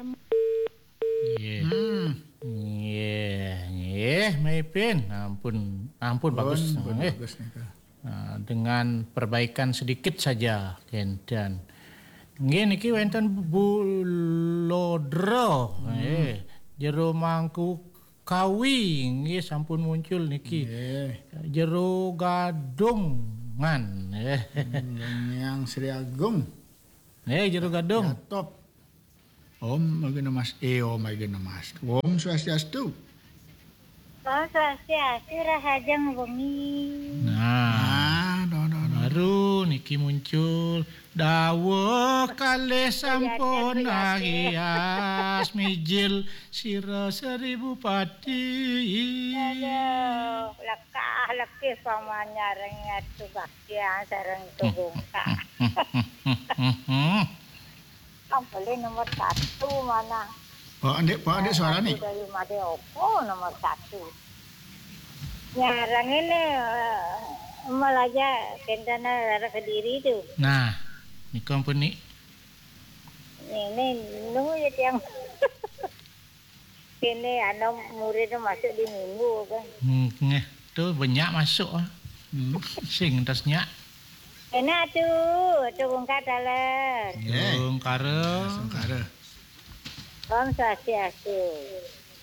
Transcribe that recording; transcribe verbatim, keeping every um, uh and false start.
Nggih. Hmm. Nggih, nggih, Maipin. Ampun, ampun, bagus. Pun, pun nggih. Bagus nika. Ah, dengan perbaikan sedikit saja, kenten. Nggih, niki wenten Bu Lodro, hmm, nggih. Jero Mangku Kawi, nggih, sampun muncul niki. Nggih. Jero Gadungan, nggih. Hmm, Yang Sri Agung. Nggih, Jero Gadung. Ya, top. Om Agena Mas, eh, Om Agena Mas. Om Swastiastu. Om Swastiastu, rahajeng wengi. Nah, nah, nah, nah, nah. Baru niki muncul. Dawuh kalih sampun ahias, mijil sira seribu pati. Aduh, lekah lekih pamanyareng atuh baktian sareng tugungkak. Kan boleh nomor satu mana? Pak Andik, Pak Andik suarane. Dari Made opo nomor satu? Nyarang ini, eh, malah aja kentana rara Kediri tuh. Nah, nika ampun nih. Ini nunggu ya tiang. Ini anak muridnya masuk di minggu kan. Hmm, nggih, tuh banyak masuk ah. Hmm. Sing tas nyak. Enak tuh, tuh bungkat dalam. Nggih. Tungkara. Tungkara. Om Swastiastu.